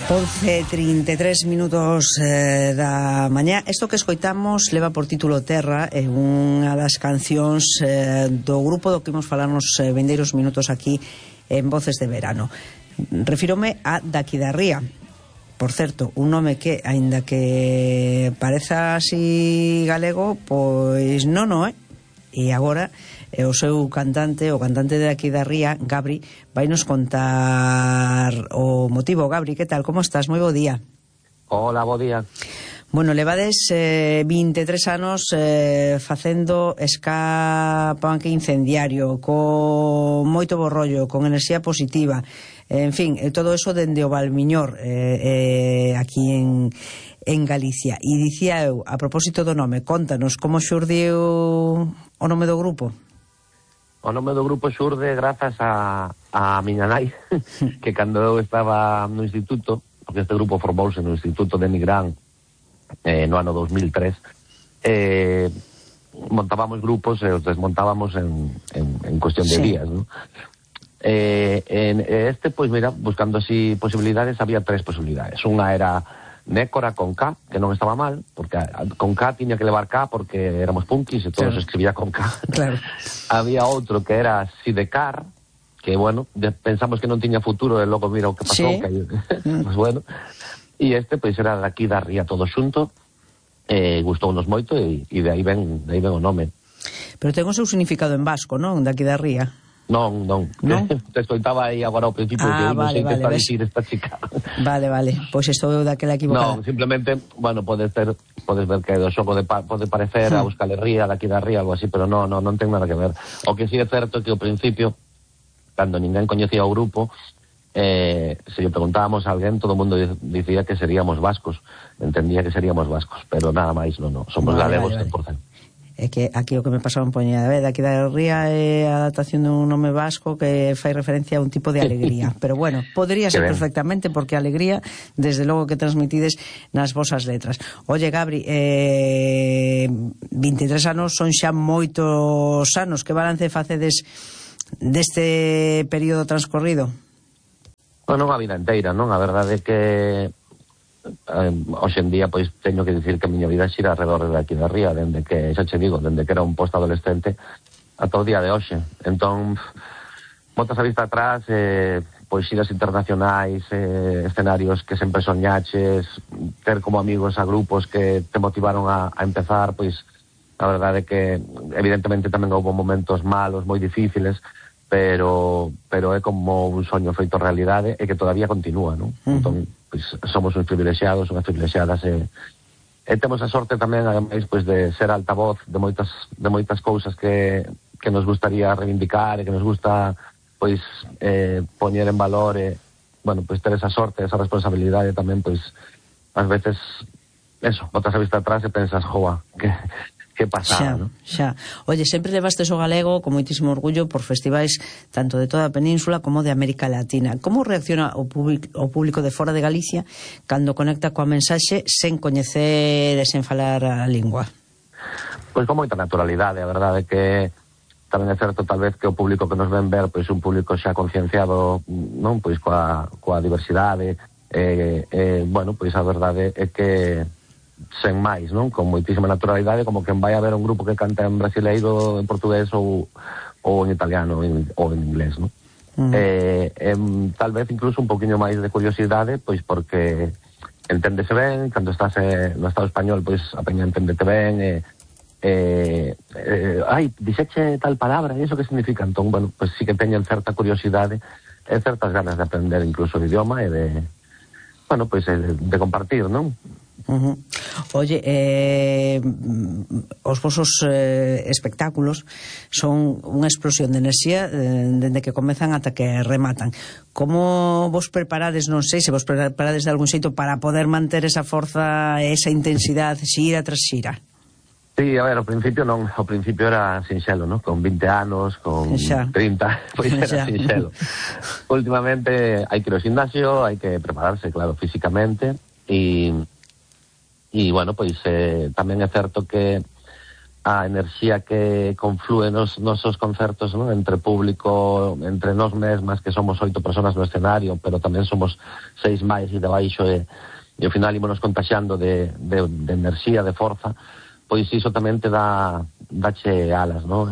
11:33 da mañá. Isto que escoitamos leva por título Terra, é unha das cancións do grupo do que imos falarnos vindeiros minutos aquí en Voces de Verano. Refírome a Daqui da Ría. Por certo, un nome que, aínda que pareza así galego, pois non é. E agora o seu cantante, o cantante de Aquí da Ría, Gabri, vai nos contar o motivo. Gabri, que tal? Como estás? Moi bo día. Hola, bo día. Bueno, levades 23 anos facendo ska punk incendiario, con moito borrollo, con enerxía positiva, en fin, todo eso dende o Valmiñor, aquí en Galicia. E dicía eu, a propósito do nome, contanos como xurdiu o nome do grupo. O nome do grupo xurde grazas a miña nai, que cando eu estaba no instituto, porque este grupo formouse no Instituto de Nigrán no ano 2003, montábamos grupos e os desmontábamos en cuestión de días, ¿no? Pois mira, buscando así posibilidades, había tres posibilidades. Unha era Nécora con K, que non estaba mal, porque con K tiña que levar K porque éramos punkis e todo se escribía con K. Claro. Había outro que era Sidecar, que bueno, pensamos que non tiña futuro e logo mira o que pasou, que pues bueno. E pois era Daqui da Ría todo xunto, gustounos moito e de aí ven o nome. Pero ten o seu significado en vasco, non? Daqui da Ría. Non. Te escoitaba aí agora ao principio que non sei que está a dicir esta chica. Vale, pois estou eu daquela equivocada. Non, simplemente, bueno, podes ver que do xogo pode parecer a Euskal Herria, Daqui da Ría, algo así, pero non ten nada que ver. O que sí é certo é que ao principio, cando ninguén coñecía o grupo, se lle preguntábamos a alguén, todo o mundo dicía que seríamos vascos, entendía que seríamos vascos, pero nada máis, non, somos galegos 100%. É que aquí o que me pasaba en poñida, Daqui da Ría é a adaptación dun nome vasco que fai referencia a un tipo de alegría, pero bueno, podría ser perfectamente, porque a alegría desde logo que transmitides nas vosas letras. Oye, Gabri, 23 anos son xa moitos anos. Que balance facedes deste período transcorrido? Bueno, a vida inteira, non? A verdade é que hoxe en día pois teño que dicir que a miña vida xira alrededor de Aquí da Ría, dende que, xa che digo, dende que era un post-adolescente ata o día de hoxe. Entón, botas a vista atrás, pois xiras internacionais, escenarios que sempre soñaches, ter como amigos a grupos que te motivaron a empezar, pois a verdade é que evidentemente tamén houve momentos malos, moi difíciles, pero é como un soño feito realidade e que todavía continúa, non? Entón, pois somos uns privilexiados, unhas privilexiadas e temos a sorte tamén, ademais, pois de ser altavoz de moitas cousas que nos gustaría reivindicar e que nos gusta pois poñer en valor e, bueno, pois ter esa sorte, esa responsabilidade tamén, pois ás veces eso, botas a vista atrás e pensas, joa, que pasada, non? Xa. Oye, sempre levastes o galego con moitísimo orgullo por festivais tanto de toda a península como de América Latina. Como reacciona o público de fora de Galicia cando conecta coa mensaxe sen coñecer e sen falar a lingua? Pois con moita naturalidade, a verdade é que tamén é certo tal vez que o público que nos ven ver pois un público xa concienciado, non, pois coa diversidade, bueno, pois a verdade é que sen máis, non? Con moitísima naturalidade, como que vai a ver un grupo que canta en brasileiro, en portugués ou en italiano ou en inglés, non? Tal vez incluso un poquinho máis de curiosidade, pois porque enténdese ben, cando estás no Estado español, pois a peña enténdete ben, dixeche tal palabra, e iso que significa? Entón, bueno, pois sí que teñen certa curiosidade e certas ganas de aprender incluso o idioma e de, bueno, pois de compartir, non? Oye, os vosos espectáculos son unha explosión de enerxía dende que comezan ata que rematan. Como vos preparades, non sei se vos preparades de algún xeito para poder manter esa forza, esa intensidade, xira tras xira? Sí, a ver, ao principio non, ao principio era sinxelo, non? Con 20 anos, con 30, pois era sinxelo. Últimamente hai que ir ao gimnasio, hai que prepararse, claro, físicamente, e bueno, pois tamén é certo que a enerxía que conflúe nos nosos concertos, ¿no? Entre público, entre nós mesmas, que somos 8 personas no escenario, pero tamén somos 6 máis e debaixo, e ao final ímonos contaxiando de enerxía, de forza, pois iso tamén te dache alas, ¿no?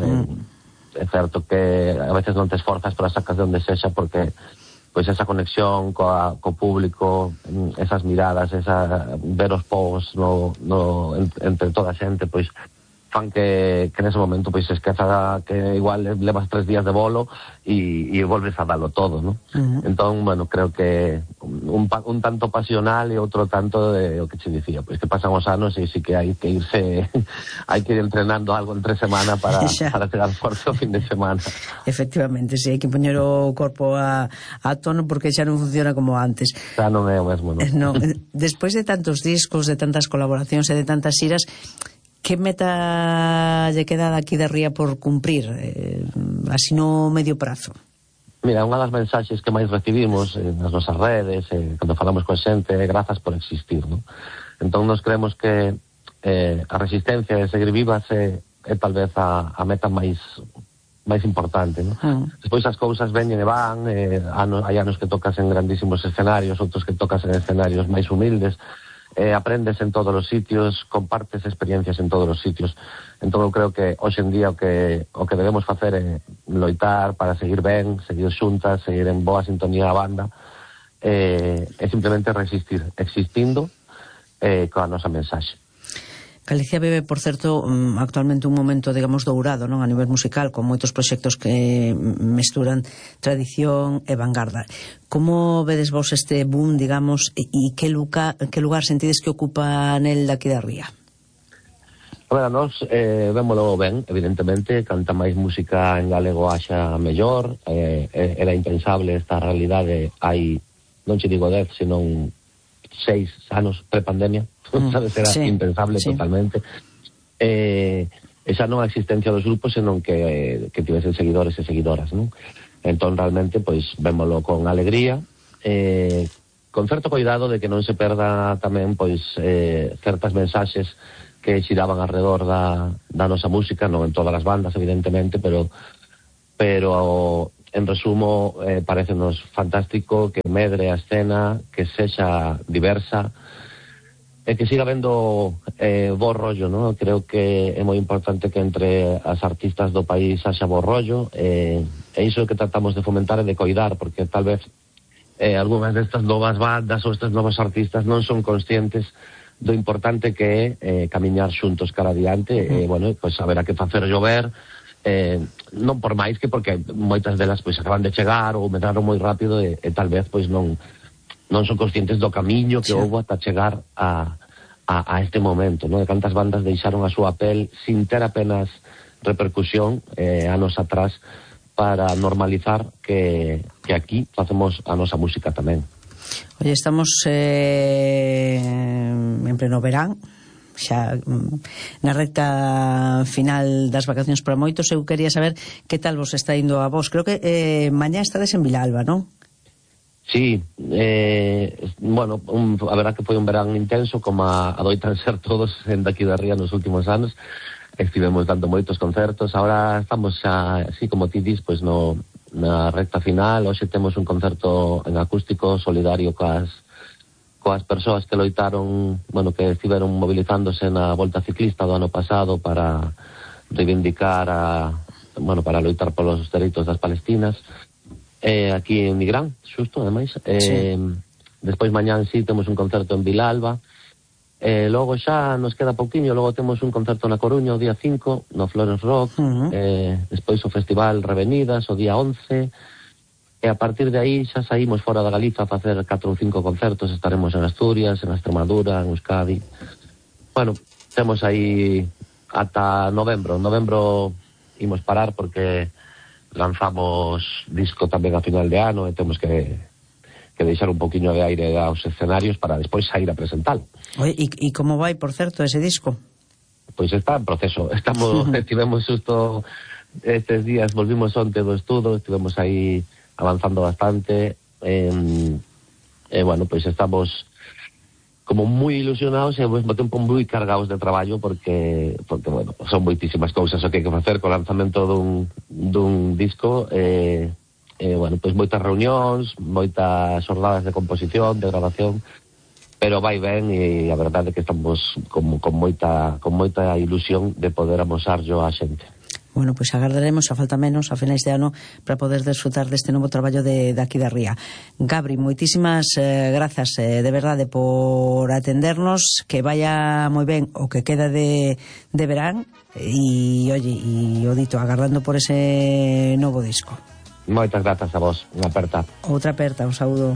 É certo que a veces non te esforzas, pero sacas de onde sexa, porque pois esa conexión co público, esas miradas, ver os povos entre toda a xente, pois fan que nese momento pois se esqueza que igual levas 3 días de bolo e volves a dalo todo, ¿no? Entón, bueno, creo que un tanto pasional e outro tanto de o que che dicía, pois que pasan os anos e sí que hai que irse hai que ir entrenando algo entre semana para chegar forte o fin de semana. Efectivamente, sí, hai que poñer o corpo a tono, porque xa non funciona como antes. Xa non é o mesmo, non? Despois de tantos discos, de tantas colaboracións e de tantas xiras, que meta lle queda aquí de Ría por cumprir, así no medio prazo? Mira, unha das mensaxes que máis recibimos nas nosas redes, cando falamos con xente, é grazas por existir, non? Entón, nos creemos que a resistencia de seguir vivas é tal vez a meta máis importante, non? Despois as cousas veñen e van, hai anos que tocas en grandísimos escenarios, outros que tocas en escenarios máis humildes, aprendes en todos os sitios, compartes experiencias en todos os sitios. Entón eu creo que hoxe en día o que debemos facer é loitar para seguir ben, seguir xuntas, seguir en boa sintonía a banda, é simplemente resistir, existindo coa nosa mensaxe. Galicia vive, por certo, actualmente un momento, digamos, dourado, non, a nivel musical, con moitos proxectos que mesturan tradición e vanguarda. Como vedes vos este boom, digamos, e que lugar sentides que ocupa nel daqui da Ría? A ver, a nós vémolo ben, evidentemente, canta máis música en galego haxa mellor, era impensable esta realidade hai, non che digo 10, senón 6 anos pre-pandemia, sabes, era impensable totalmente. Esa non a existencia dos grupos, senón que tivesen seguidores e seguidoras, non? Entón, realmente, pois, vémolo con alegría, con certo cuidado de que non se perda tamén, pois, certas mensaxes que xiraban alrededor da nosa música, non en todas as bandas, evidentemente, pero en resumo, parecenos fantástico que medre a escena, que sexa diversa, e que siga vendo bo rollo, ¿no? Creo que é moi importante que entre as artistas do país haxa bo rollo, e iso que tratamos de fomentar e de coidar, porque tal vez algunhas destas novas bandas ou estes novos artistas non son conscientes do importante que é camiñar xuntos cara adiante, e, bueno, pois haberá que facer llover, non por máis que porque moitas delas pois acaban de chegar ou medraron moi rápido e tal vez pois non son conscientes do camiño que houve ata chegar a este momento, non? De cantas bandas deixaron a súa pel sin ter apenas repercusión anos atrás para normalizar que aquí facemos a nosa música tamén. Oye, estamos en pleno verán, xa na recta final das vacacións para moitos. Eu quería saber que tal vos está indo a vos. Creo que mañá estades en Vilalba, non? Sí, bueno, a verdad que foi un verán intenso, como adoitan ser todos en daqui da Ría nos últimos anos. Estivemos dando moitos concertos, agora estamos xa, así como ti dis, pois na recta final. Hoxe temos un concerto en acústico solidario coas persoas que loitaron, bueno, que estiveron movilizándose na Volta Ciclista do ano pasado para reivindicar para loitar polos dereitos das palestinas, aquí en Nigrán, xusto, ademais. Despois mañán sí temos un concerto en Vilalba, logo xa nos queda pouquiño, logo temos un concerto na Coruña o día 5, no Flores Rock, despois o Festival Revenidas o día 11, e a partir de aí xa saímos fora da Galiza a facer 4 ou 5 concertos. Estaremos en Asturias, en Extremadura, en Euskadi. Bueno, temos aí ata novembro. En novembro imos parar porque lanzamos disco tamén a final de ano e temos que deixar un poquinho de aire aos escenarios para despois sair a presentalo. Oye, e como vai, por certo, ese disco? Pois está en proceso. Estivemos xusto estes días, volvimos onte do estudo, estivemos aí avanzando bastante, bueno, pois estamos como moi ilusionados e ao mesmo tempo moi cargados de traballo porque bueno, son moitísimas cousas o que hai que facer co lanzamento dun disco bueno, pois moitas reunións, moitas xornadas de composición, de grabación, pero vai ben e a verdade é que estamos con moita ilusión de poder amosarlo á xente. Bueno, pois agardaremos a falta menos a finais de ano para poder desfrutar deste novo traballo de aquí da Ría. Gabri, moitísimas grazas de verdade por atendernos, que vaya moi ben o que queda de verán e, oye, e o dito, agardando por ese novo disco. Moitas grazas a vos, unha aperta. Outra aperta, un saúdo.